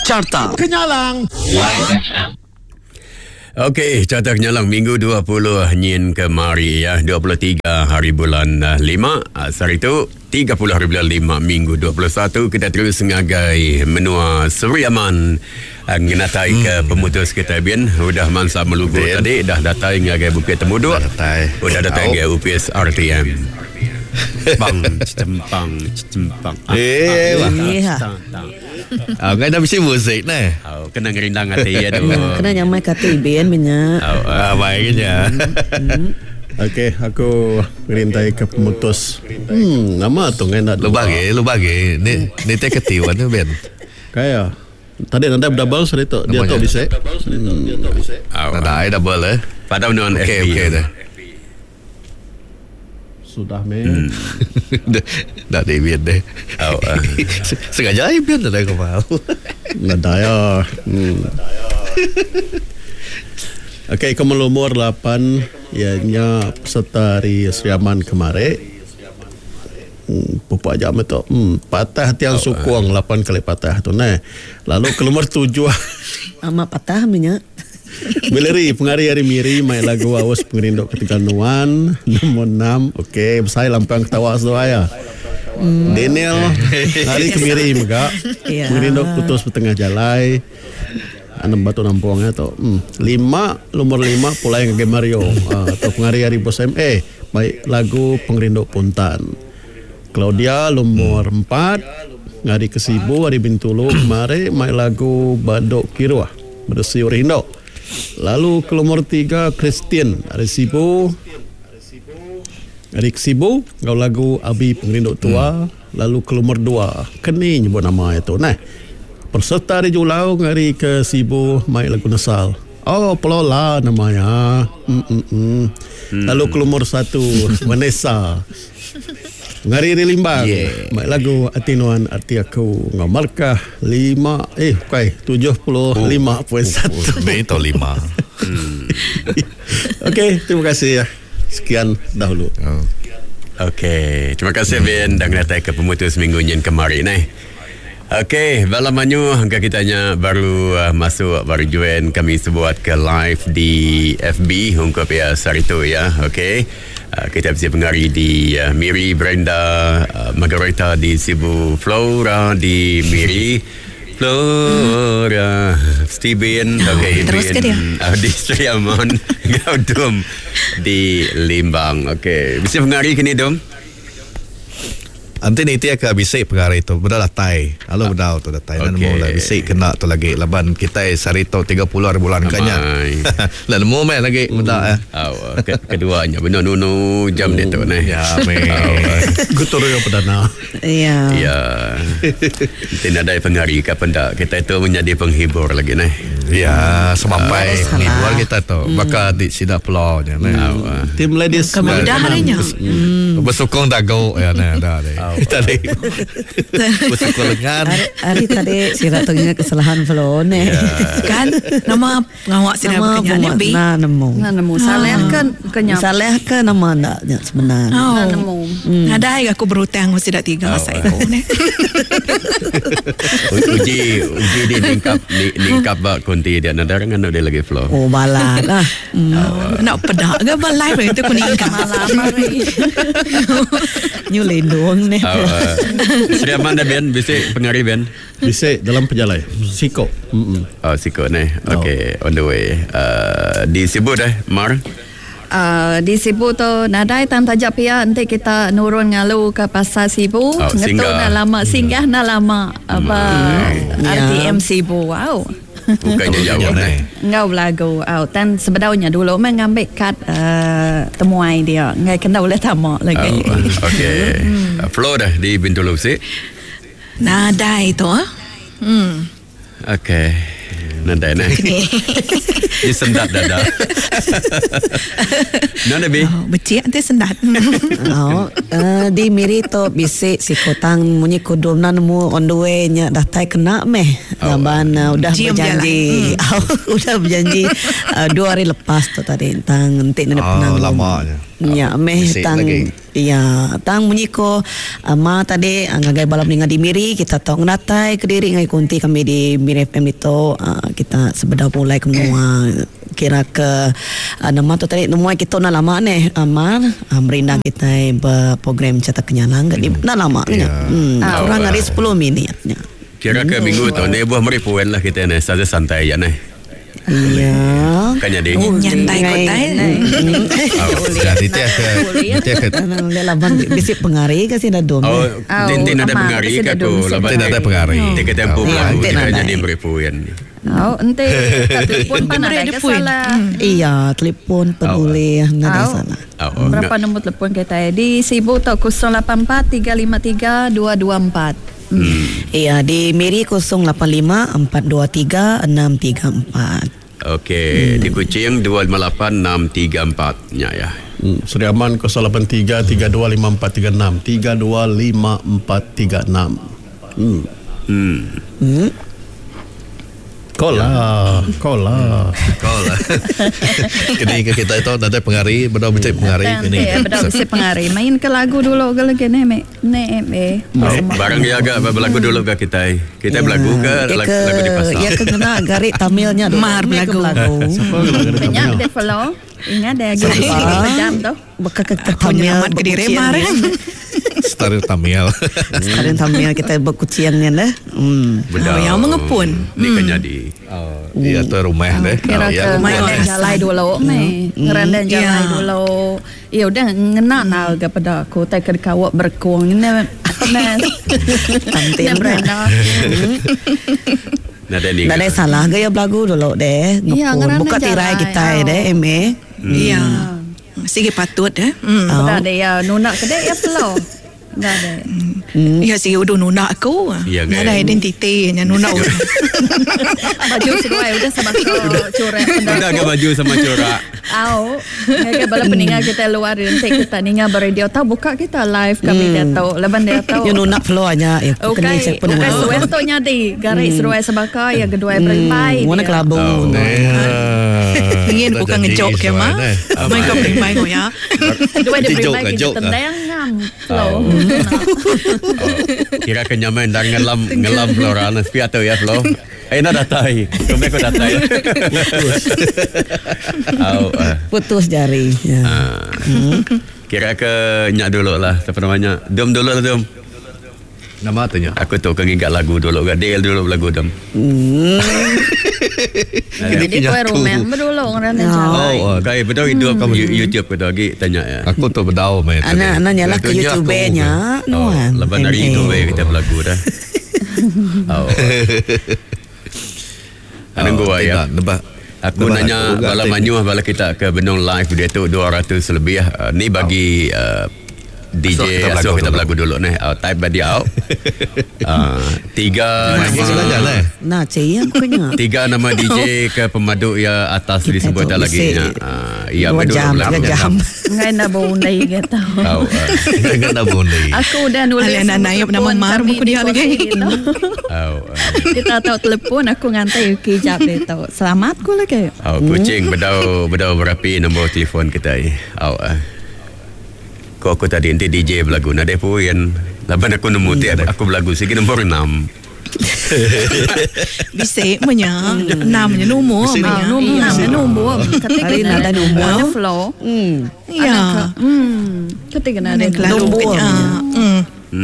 Carta Kenyalang. Okey, carta kenyalang minggu 20 nyin kemari ya, 23 hari bulan 5 sehari tu 30 hari bulan 5 minggu 21 kita terus ngagai menua Seri Aman ngenatai ke pemutus kita bin udah mansa melugu tadi dah datai ngagai Bukit Temuduk Dah datai. Udah datai ngagai upis RTM. Bang cempang cempang. Eh, wah. Iya. Ah, ngai dah bisi muzik neh. Oh, kena ngerindang ati ya tu. Kena nyamai ke ati bin minya. Oh, Ah, baik nya. Okey, aku ngerintai ke pemutus. Nama tu ngai nak Lu bagi, lu bagi. Ni ni te ketiwan tu Ben. Kaya. Tadi nadai double sehari tu. Dia tu bisi. Oh, Nadai double eh. Padam nuan Okey, FB. okey dah. Sudah meh. Dah di bin deh. Oh, Sengaja ai bin dah kau mau. Nadai ah. Okey, ke lumur 8 ianya peserta ari Sri Aman kemari. Pupuk aja meh tu. Patah tiang sukung 8 kali patah tu neh. Lalu ke lumur 7. Amat patah meh nya. Valerie pengari ari Miri mai lagu Aus Pengerindu Ketegal Nuan nombor 6. Okey, besai lampang ketawa seduai ya. Daniel ari ke Miri mega. Ya. Pengerindu putus betengah jalai. Anem batu nampung ya tu. 5 lumur 5 pulai ngagai Mario. Atau pengari ari Bos MA mai lagu Pengerindu Puntan. Claudia lumur 4 ngari ke Sibu ari Bintulu kemari mai lagu Badok Kiruh Beresi Rindu. Lalu ke lumur 3 Christian ari Sibu ari ke Sibu enggau lagu Abi Pengerindu Tua. Lalu ke lumur 2 keni nyebut nama iya tu neh. Peserta ari Julau ngari ke Sibu mai lagu Nesal. Oh Pelola nama iya. Lalu ke lumur 1 Vanessa ngari ari Limbang mai lagu Ati Nuan Ati Aku enggau markah 5 bukai 75.1. Ni tau 5. Okey, terima kasih ya. Sekian dahulu. Okey, terima kasih Ben dah ngenatai ke pemutus minggu nyin kemari neh. Okey, bala manyu angka kita nya baru masuk baru join kami sebuat ke live di FB ungkup ya sehari tu ya. Okey. Kita bisi pengari di Miri Brenda, Margareta di Sibu, Flora di Miri, Flora, Steven, okey, Terus ke dia? Di Sri Aman, enggau Dum di Limbang. Okey, bisi pengari kini Dum? Nanti ni tia ke bisi pengari tu beda datai. Lalu bedau tu datai. Dan Okey. nemu lah bisi kena tu lagi laban kita sehari tu 30 hari bulan kanya. Amai. Lah nemu meh lagi benda eh. Oh, keduanya benar nunu jam dia tu neh. Ya meh. Gutorio perdana. Ya. Ya. Nanti nadai pengari ke pendak kita itu menjadi penghibur lagi neh. Ya, semampai Harus penghibur salah. kita tu. Baka di sida pulau nya neh. Tim ladies Kamu dah harinya. Bersokong dago ya neh dah deh. Tadi. Bersokong lengan. Hari, hari tadi sira tu ingat kesalahan Flo ne. Kan nama pengawak sida Nama berkenyang ni bi. na nemu. Nah, nemu salah kan kenyap. Salah ke nama ndak nya sebenarnya. Oh. Nah, nemu. Nadai aku berhutang mesti dak tiga oh, saya ku ne. Uji uji di ningkap ni, ningkap ba kunti dia nadai orang anu dia lagi flow. Oh balat lah. Nak pedak ke ba live itu ku ningkap. Malam hari. Nyu lindung ne. Oh, Sri Aman dah Ben bisi pengari Ben. Bisa dalam perjalai. Siko. Oh siko ni. Okey, on the way. Di Sibu dah Mar. Di Sibu tu nadai tan tajak pia nanti kita nurun ngalu ke pasar Sibu. Oh, Ngetu singgah. nak lama singgah nak lama apa Ya. RTM Sibu. Wow. Bukannya jauh ni. Ngau belagu. Oh, tan sebenarnya dulu memang ngambil kad temuai dia. Ngai kena boleh tamak lagi. Oh, okey. Flow dah di Bintulu si. Nadai tu ah. Okey. Nadai ni. Dia sendat dada. Nona bi. Oh, becik nanti sendat. Oh, di Miri tu bisi si kotang munyi kudum na nemu on the way nya datai kena meh. Laban udah Cium berjanji. Udah berjanji 2 hari lepas tu tadi tentang nanti nak Oh, penang. lama nya. Ya meh Bisi tang lagi. ya tang munyi ko ma tadi ngagai bala peninga di Miri kita tau ngenatai kediri ngagai kunti kami di Miri FM ditu kita sebedau pulai ke menua kira ke nama tu tadi nemuai kitu enda lama neh Mar merindang kitai ba program Chata Kenyalang ga enda lama nya kurang ari sepuluh minit nya. Kira ke minggu tu nih buah meri poin lah kita neh santai-santai aja neh. Iya. Kan jadi. Nyantai kotai. Ya, nitih ke nitih ke Ulih laban bisi pengari ke sida dom. Oh, tintin ada pengari ke aku laban Tintin ada pengari. Tintin kita empu Ya, lagu tintin kita ada. jadi beri poin. Oh, enti kat telefon pan Beri ada ada ke poin. salah. Iya, telefon pun boleh, nadai Au. salah. Oh, Berapa nombor telefon kita? Di Sibu tu 084 353 224. Iya, di Miri 085 423 634. Okey, di Kuching 258 634 nya ya. Seri Aman 083 325436 325436. Call lah, call lah. Kau lah. Kini ke kita itu nadai pengari, bedau becik pengari kini. Nanti bedau bisi pengari. Main ke lagu dulu ke lagi ni me. Ni me. Barang dia agak berlagu dulu ke kita. Kita berlagu ke Ya lagu, lagu di pasar. Ya ke kena garik Tamilnya dulu. Mar Ni ke berlagu. Siapa kena kena Banyak Tamil? dia follow. Ingat dia lagi jam tu. Beka ke Aku Tamil nyelamat ke diri berkucian Mar. ni. Star Tamil. Sekarang Tamil kita berkuciannya dah. Bedau. Oh, yang mengepun. Ni kan jadi. Oh, iya tu rumah deh. Kira Oh, ke ya. Main ngerendan orang jalai dulu me. Ngerendan jalai Ya. dulu. Ya udah ngena na ke pada aku tak ke kawak berkuang ni. Nah. Tantin Ni beranda. Nadai ni. Nadai salah gaya berlagu dulu deh. Ya, Ngepun. ngerana Buka tirai jalai. kita Oh. deh, MA. Ya. Sigi patut eh. Hmm. Dah ada ya nunak ke dek ya flow. Dah ada. Ya sigi udah nuna aku. Ya, kan? Nadai identiti nya nuna orang. Baju seduai udah sama corak Udah ke baju sama corak. Au, ke bala peninga kita luar nanti kita ninga beradio tahu buka kita live kami dia tahu. Leban dia tahu. Ya nunak flow aja. Ya, kena Okey, cek pun. okey suai tu nyadi garis seruai sebaka ya kedua berimpai. Warna dia. kelabu. Oh. Ingin bukan ngejok ke mah. Main kau berimpai kau ya. Kedua dia Jok berimpai ke, kita jok ke? tendang ngam. Flow. Kira ke nyaman dan ngelam ngelam Flora na sepi atau ya Flo. Eh nak datai. Kemana kau datai? Putus. Au. eh. Putus jari. Ya. Ah. Kira ke nyak dulu lah Siapa namanya Dum dulu lah Dum Nama tu nya. Aku tu ke ngingat lagu dulu ke Deal dulu lagu Dum Kini Jadi kau rumah dulu orang jalai. Oh, okay, betul hidup kamu YouTube ke tu lagi tanya ya. Aku tu bedau mai. Anak anak nyalah ke YouTube nya. Oh, Nuan. lepas dari MA. itu we kita berlagu dah. Oh. Nunggu ya. Nebak. Aku nanya bala manyuh bala kita ke Benong live dia tu 200 lebih. Ni bagi DJ Asuh kita asuh berlagu kita dulu. berlagu dulu ni. Type bagi out. Tiga Nama nama lah. Nah, cik ya bukannya. tiga nama DJ ke pemaduk ya atas Kita disebut tu dah lagi bisik nya. Ya Dua betul jam, berlagu. tiga jam. Ngai nak bau undai gitu. Tahu. Jangan nak bundai. Aku udah nulis. Alah, nak naik nama telefon Mar kami buku di dia lagi. kongsi gitu. Oh, Kita tahu telefon aku ngantai kejap dia tahu. Selamat ku lagi. Oh, kucing bedau bedau berapi nombor telefon kita ni. Oh. Kau aku tadi nanti DJ berlagu. Nada pun yang laban aku nemu ti aku berlagu sigi nombor 6. Bisik menya. Enam nya nombor Bisik menya. Nombor Ya. enam nombor. Ketika Hari kena nak ada nombor. Ada flow. Ya. Ketika kena ada Ada kelalu Nombor kenya. Hmm.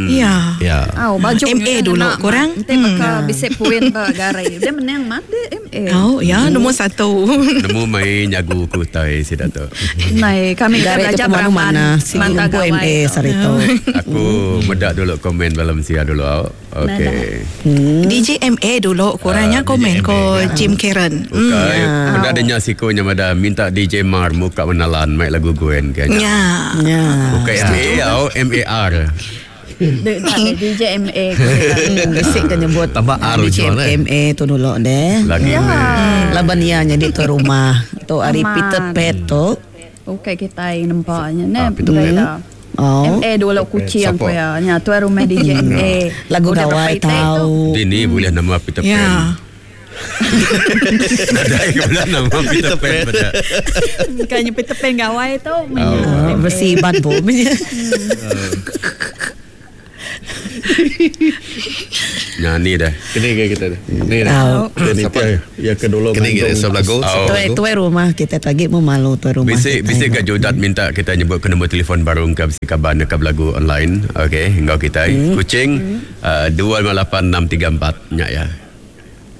Ya. Ya. Oh, baju MA dulu korang. Nanti maka bisik puin ba garai. Dia menang mat dia MA. Oh, ya nombor satu. Nemu main nyagu ku tai sida tu. Nai kami kita Garik tu belajar pemanu beraman. mana Sigi Manta umpu gawai. MA sarito. Aku medak dulu komen dalam sia dulu. au. Okey. DJ MA dulu korangnya Ah, komen DJ ko MA. Jim Karen. Okey. Benda adanya sikonya mada minta DJ Mar muka menalan mai lagu Gwen kayaknya. Ya. Ya. Bukan M A au M A R. Dia tak ada DJ MA. Bisik kan nyebut Tambah R DJ jual, eh. MA tu dulu deh. Lagi. Ya. Laban ia jadi tu rumah. Tu hari Aman. Peter Pan tu. Okey kita yang nampaknya ne. Ah, Peter Pan. Berita. Oh. MA dulu kucing Siapa? ko ya. Nya tu rumah DJ MA. Lagu Udah gawai berapa itik tu? tahu. Dini boleh nama Peter Ya. Pan. Nadai ke bela nama Peter Pan pada. Kayaknya Peter Pan gawai tu. Oh, versi Iban pun. Nyanyi dah. Kini ke kita ni. Ni dah. Siapa? Ya ke dulu. Kini ke sebelah lagu. Tuai tuai rumah kita lagi mau malu tuai rumah. Bisi bisi ke Judat minta kita nyebut ke nombor telefon baru ke bisi kaban ke belagu online. Okey, enggau kita. Kuching 258634 nya ya.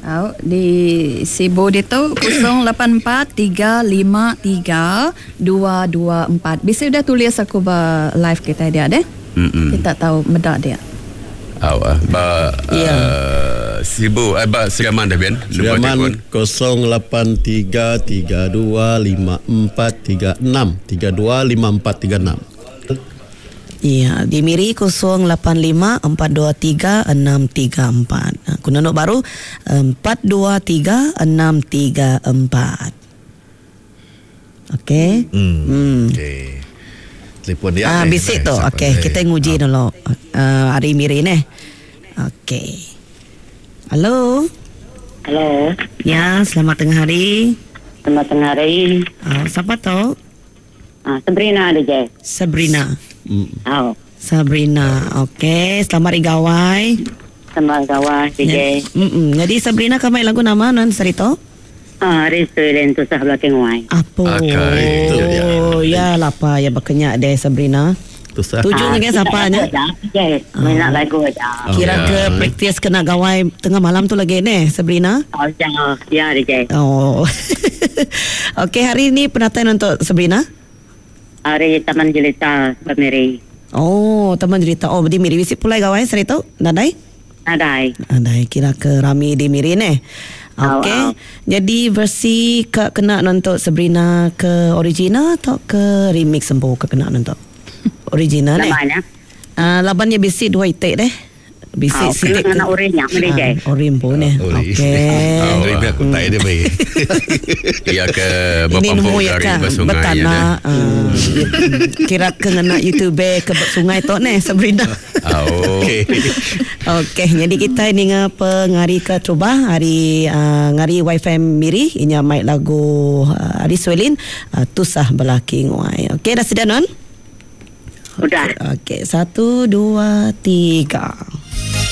Au di Sibu ditu 084353 224. Bisi udah tulis aku ba live kita dia deh. Kita tahu meda dia. Au ba Sibu ba Sri Aman dah ben. Sri Aman 08332546 325436. Ya, di Miri 085 423 634. Aku nunuk baru 423 634. Okey. Okey. Telefon dia. Ah, bisik tu. Okey, kita nguji dulu. Hari Miri ni. Okey. Halo. Halo. Ya, selamat tengah hari. Selamat tengah hari. Siapa tu? Sabrina ada je. Sabrina. Oh. Sabrina. Okey, selamat hari gawai. Selamat gawai DJ. Jadi Sabrina kami lagu nama non serito? Hari Suelen tu sah belakang wai. Apa? Okay. Oh, ya lapa ya berkenyak deh Sabrina. Tujuh dengan siapa nya? Ya, minat lagu aja. Kira ke praktis kena gawai tengah malam tu lagi ni Sabrina? Oh, ya, ya DJ. Oh. Okey, hari ni pendataan untuk Sabrina? Hari Taman Jelita Miri. Oh, Taman Jelita. Oh, di Miri visit pulai gawai serito? Nadai? Nadai. Nadai kira ke rami di Miri ni. Okey. Jadi versi ke kena nonton Sabrina ke original atau ke remix sempu ke kena nonton? Original ni. Labannya. Labannya bisi dua itik deh. Bisi sitik ke orinya meri je. Orim pun ni. Okey. Orim aku tak ada baik. Ya ke berpampung dari bersungai ya. Kira ke ngena YouTube ke sungai tu ni Sabrina. Okey. Okey, jadi kita ni ngapa ngari ke cuba hari ngari WiFi Miri inya mai lagu Ari Suelin Tusah Belaki Nguai. Okey, dah sedia non? Sudah. Okey, 1 2 3.